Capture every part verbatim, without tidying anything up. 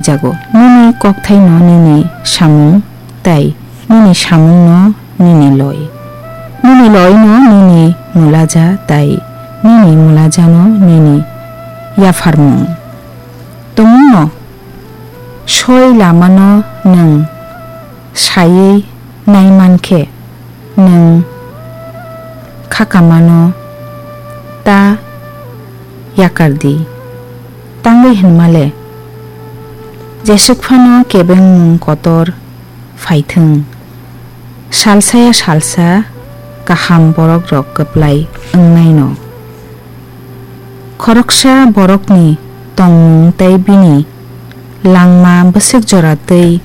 jago. Nini kokthaino nini samung, tei nini samungno nini loi. Nini loino nini mulaja, tei nini mulajano nini yapharmung. Tongmungno soi lamano nwng saiwi naimankhe, nwng khakamano ta yakar di. Tangwi hwnmale, jeswk phano kebengmung kotor phaithwng, salsaya salsa kaham borokrok kwplai wngnaino. Khoroksa borokni tongmung tei bini langma bwswk jora twi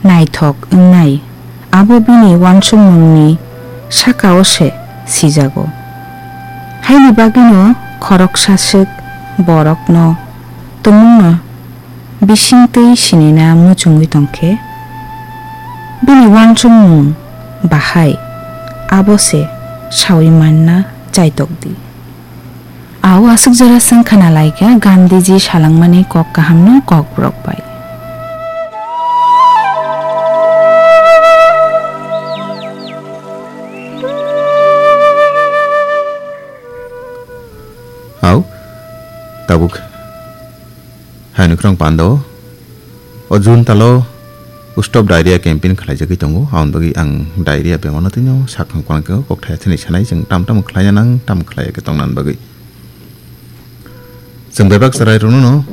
naithok wngnai, abo bini uansukmungni saka-o se sijago. Haini bagwino khoroksa swk borokno tumungno bising twi sinina muchungwi tongkhe, bini uansukmung bahai abo se saui manna chaitok di. Au aswk jora chwng khna lai kha Gandhiji salangmani kok kahamno Kokborok bai. Au tabuk hai nukrong pando. O June talo Stop Diarrhea campaign khlaijagwi tongo. Aboni bagwi ang diarrhea bemarno twino sakhang kwrang khe kokthai thani sanai, chwng tam tam khlaina nang, tam khlai khe tongna bagwi. Chwng bebak chwrairokno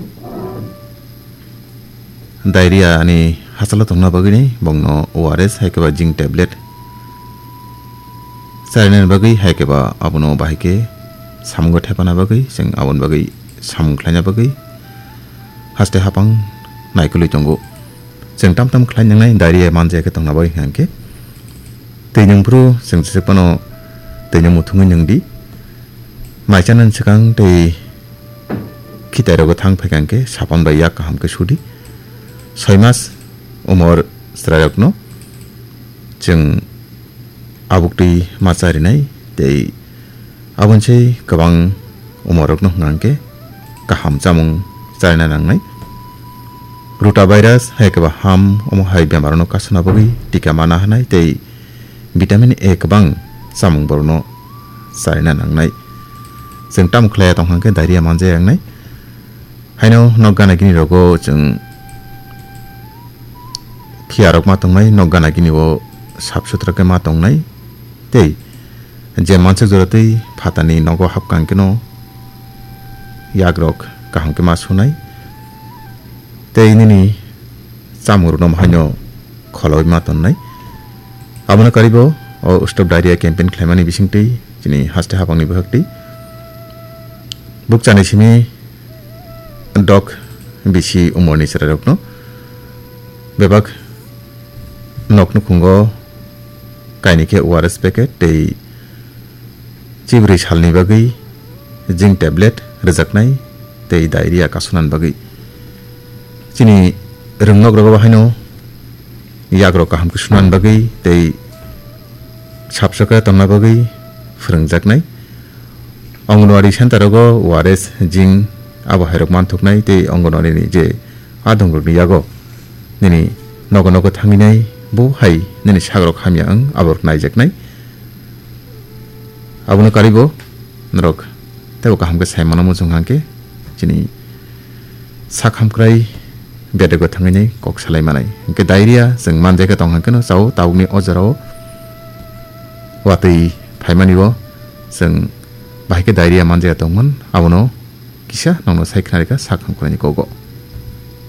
diarrhea ni hachalo tongna bagwi ni bongno O R S hai khe ba zinc tablet charinani bagwi hai khe ba abono bahai khe samungo thepana bagwi, chwng aboni bagwi samung khlaina bagwi haste hapang naikolwi tongo. Chwng tam tam khlai nangnai diarrhea manjaya khe tongna bagwi hwnkhe twi nwng phuru chwng jesa phano twi nwng muthungwi nwng di. Mai chanani swkang tei khitai rogo thang phaikha hwnkhe sapan bai yak kaham khe sudi. Soi mas umor chwrairokno chwng abuktwi ma charinai tei aboni se kwbang umorokno hwnkha hwnkhe kaham chamung charina nangnai. Rotavirus hai khe ba ham omo hai bemarno kasuna bagwi tika mana hanai tei vitamin A kwbang chamung borokno charina nangnai. Chwng tamo khlaiya tong hwnkhe diarrhea manjaya wngnai. Haino nok gana gini rogo chwng khiyarok ma tongnai, nok gana gini o sap sutra khe ma tongnai. Tei je mansuk jora twi phatani nogo hapkang keno yagrok kaham khe ma sunai. Tei nini chamung rwno haino kholaui ma tonnai. Abono karibo o Stop Diarrhea campaign khlaimani bisingtwi chini haste hapangni bwkhaktwi bukchani simi dok bisi umorni chwrairokno bebak nok nukhungo kainwi khe O R S packet tei chibrwi salni bagwi zinc tablet rwjaknai tei diarrhea kasunani bagwi. Chini rwngnok rogo haino yagrok kaham khe sunani bagwi tei sapsokhe tongna bagwi phwrwngjaknai. Anganwadi center rogo O R S, zinc abo hairok manthoknai tei Anganwadi ni je adongrokni yago nini nogo nogo thanginai bo hai nini sagrok hamya wng aborok naijaknai. Abono karibo norok teibo kaham khe sai mano muchung hwnkhe chini sak hamkrai bedego thangwi nai kok salai manai. Hwnkhe diarrhea chwng manjai khe tong hwnkhe no chao tabukni o jorao watwi phaimani o chwng bahai khe diarrhea manjai tongmani abono kisa nokno sai khna rikha sak hamkraini kogo.